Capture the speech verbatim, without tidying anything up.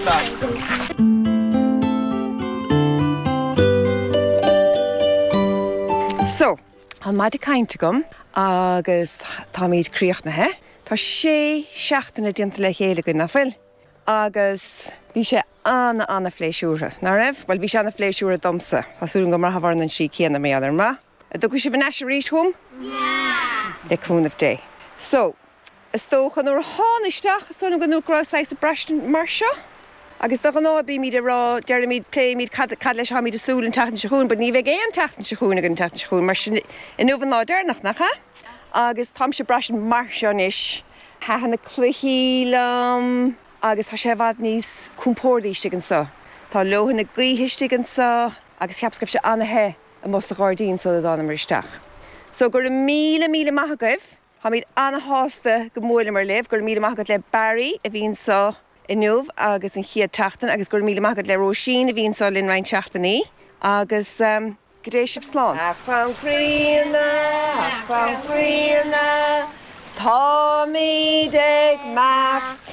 Stop. So, an maide cainte agam agus táimid críochnaithe. Tá sé seachtaine déanta le chéile againn nach bhfuil. Agus bhí sé an- an-phléisiúrtha, nach raibh? Well bhí sé an-phléisiúrtha domsa, Tá súil go mbraitheann an sí céanna mé ar ma. An dtiocfaidh sibh ar ais arís chugam? Le cúnamh Dé. So, is dócha nuair a thána isteach is dócha go raibh saghas braistint mar seo. Agus de ghnáth bímid ag rá deirimid pléimid cad cad leis táimid ag súil an tseachtain seo chugainn, but ní bheidh aon tseachtain seo chugainn an tseachtain seo chugainn mar sin inniu an lá deireanach nach ea? Agus táimse braistint mar seo anois thaitin na cluichí liom agus tá sé i bhfad níos compordaí istigh anseo. Tá leoithne na gaoithe istigh anseo agus cheapas go raibh sé an-the amuigh sa ghairdín sula dtánamar isteach. So go raibh míle míle maith agaibh, Táimid an-sásta go mbuaileamar libh, go raibh míle maith agat le Barry a bhí anseo inniu agus an chéad tseachtain agus go raibh míle maith agat le Róisín a bhí anseo linn roinnt seachtainí agus um, go dté sibh slán. A chrann críonna, a chrann críonna, Táimid ag imeacht